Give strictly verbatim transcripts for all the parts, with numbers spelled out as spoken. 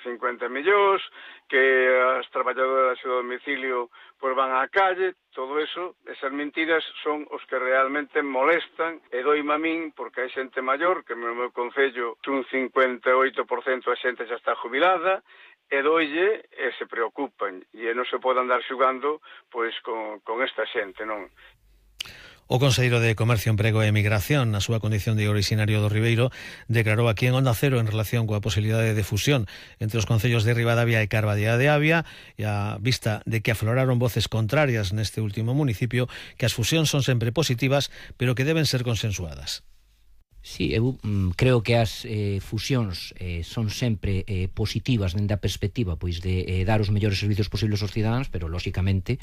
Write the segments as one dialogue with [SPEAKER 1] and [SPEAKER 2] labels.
[SPEAKER 1] cincuenta millóns, que as traballadoras do domicilio pois van á calle, todo eso, esas mentiras son os que realmente molestan e doime a min, porque hai xente maior, que no meu concello un cincuenta e oito por cento a xente xa está jubilada, e doille e se preocupan, e non se pode andar xugando pois con, con esta xente, non?
[SPEAKER 2] O Conselleiro de Comercio, Emprego e Emigración, na súa condición de orixinario do Ribeiro, declarou aquí en Onda Cero en relación coa posibilidade de fusión entre os concellos de Ribadavia e Carballeira de Avia, e a vista de que afloraron voces contrarias neste último municipio, que as fusións son sempre positivas, pero que deben ser consensuadas.
[SPEAKER 3] Sí, eu mm, creo que as eh, fusións eh, son sempre eh, positivas dende a perspectiva pois de eh, dar os mellores servicios posibles aos cidadáns, pero lóxicamente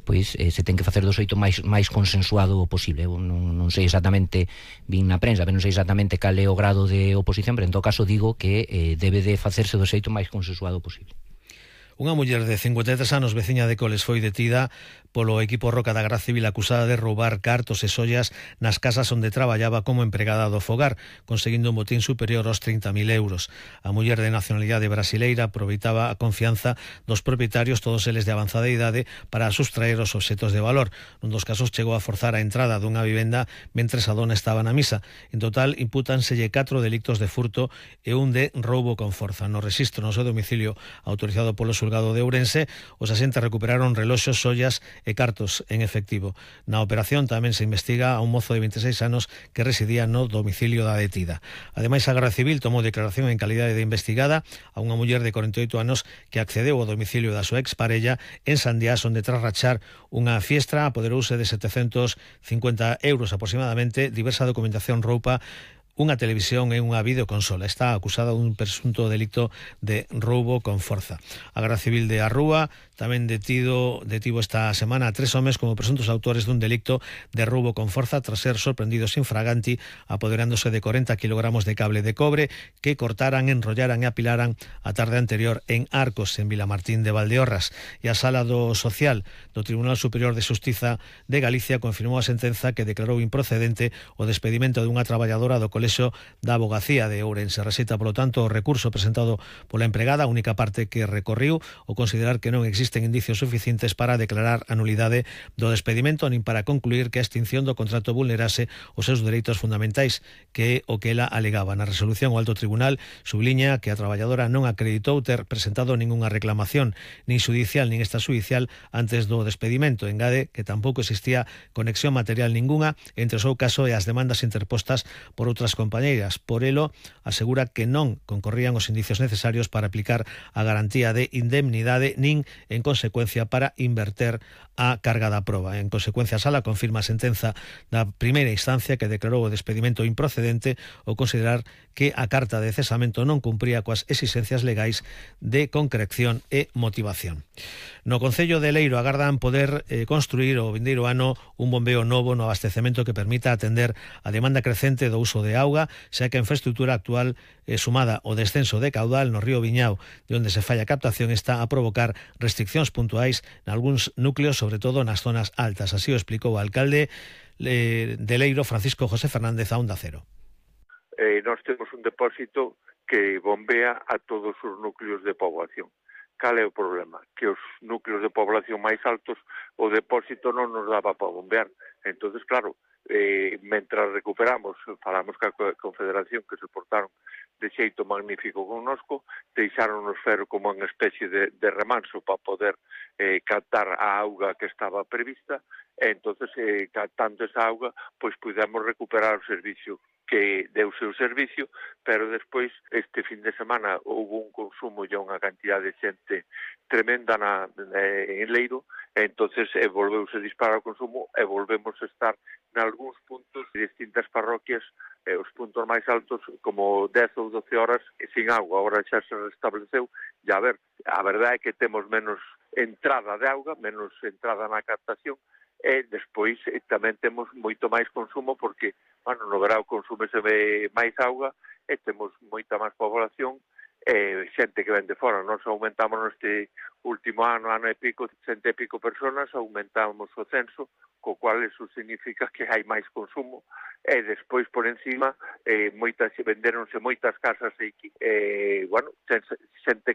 [SPEAKER 3] pois eh, se ten que facer do xeito máis máis consensuado posible. Eu non, non sei exactamente, vin na prensa, pero non sei exactamente cal é o grado de oposición, pero en todo caso digo que eh, debe de facerse do xeito máis consensuado posible.
[SPEAKER 2] Unha muller de cincuenta e tres anos, veciña de Coles, foi detida polo equipo Roca da Garda Civil acusada de roubar cartos e sollas nas casas onde traballaba como empregada do fogar, conseguindo un botín superior aos trinta mil euros. A muller de nacionalidade brasileira aproveitaba a confianza dos propietarios, todos eles de avanzada idade, para sustraer os obxetos de valor. Nun dos casos chegou a forzar a entrada dunha vivenda mentres a dona estaba na misa. En total, impútanselle catro delictos de furto e un de roubo con forza. No rexistro no seu domicilio autorizado polo xulgado de Ourense, os axentes recuperaron reloxos, sollas e cartos en efectivo. Na operación tamén se investiga a un mozo de vinte e seis anos que residía no domicilio da detida. Ademais, a Garda Civil tomou declaración en calidade de investigada a unha muller de corenta e oito anos que accedeu ao domicilio da súa exparella en Sandiás, onde tras rachar unha fiestra apoderouse de setecentos cincuenta euros aproximadamente, diversa documentación, roupa, unha televisión e unha videoconsola. Está acusada dun presunto delito de roubo con forza. A Garda Civil de Arrúa tamén detido, detivo esta semana a tres homes como presuntos autores dun delicto de roubo con forza tras ser sorprendidos infraganti apoderándose de corenta kilogramos de cable de cobre que cortaran, enrollaran e apilaran a tarde anterior en Arcos, en Vilamartín de Valdeorras. E a Sala do Social do Tribunal Superior de Xustiza de Galicia confirmou a sentenza que declarou improcedente o despedimento dunha traballadora do Colexio da Abogacía de Ourense. Rexeita, polo tanto, o recurso presentado pola empregada, a única parte que recorriu, o considerar que non existen indicios suficientes para declarar a nulidade do despedimento nin para concluir que a extinción do contrato vulnerase os seus dereitos fundamentais, que é o que ela alegaba. Na resolución, o Alto Tribunal subliña que a traballadora non acreditou ter presentado ningunha reclamación, nin xudicial nin extrajudicial, antes do despedimento. Engade que tampouco existía conexión material ningunha entre o seu caso e as demandas interpostas por outras compañeiras. Por elo, asegura que non concorrían os indicios necesarios para aplicar a garantía de indemnidade nin, en consecuencia, para inverter a carga da proba. En consecuencia, a Sala confirma a sentenza da primeira instancia que declarou o despedimento improcedente ao considerar que a carta de cesamento non cumpría coas exigencias legais de concreción e motivación. No Concello de Leiro agardan poder eh, construir o vindeiro ano un bombeo novo no abastecemento que permita atender a demanda crecente do uso de auga, xa que a infraestructura actual eh, sumada ao descenso de caudal no río Viñao, de onde se falla a captación, está a provocar restriccións puntuais nalgúns núcleos, sobre todo nas zonas altas. Así o explicou o alcalde eh, de Leiro, Francisco José Fernández, a Onda Cero.
[SPEAKER 4] Eh, nós temos un depósito que bombea a todos os núcleos de poboación. Cal é o problema? Que os núcleos de población máis altos o depósito non nos daba para bombear. Entonces, claro, eh, mentras recuperamos, falamos ca Confederación que se portaron de xeito magnífico connosco, deixáronos fer como unha especie de, de remanso para poder eh, captar a auga que estaba prevista, e entonces, eh, captando esa auga, pois pudemos recuperar o servicio que deu seu servicio, pero despois, este fin de semana, houve un consumo e unha cantidad de xente tremenda na, eh, en Leiro, e entonces eh, volveuse a disparar o consumo e volvemos a estar nalgúns puntos de distintas parroquias, eh, os puntos máis altos, como dez ou doce horas sin agua. Agora xa se restableceu, e a ver, a verdade é que temos menos entrada de auga, menos entrada na captación, e despois eh, tamén temos moito máis consumo porque, bueno, no verão consúmese máis auga e temos moita máis población e xente que ven de fora. Nos aumentamos neste último ano, ano e pico, cento e pico personas, aumentamos o censo, co cual eso significa que hai máis consumo e despois por encima eh, moitas, venderonse moitas casas aquí, e, bueno, xente que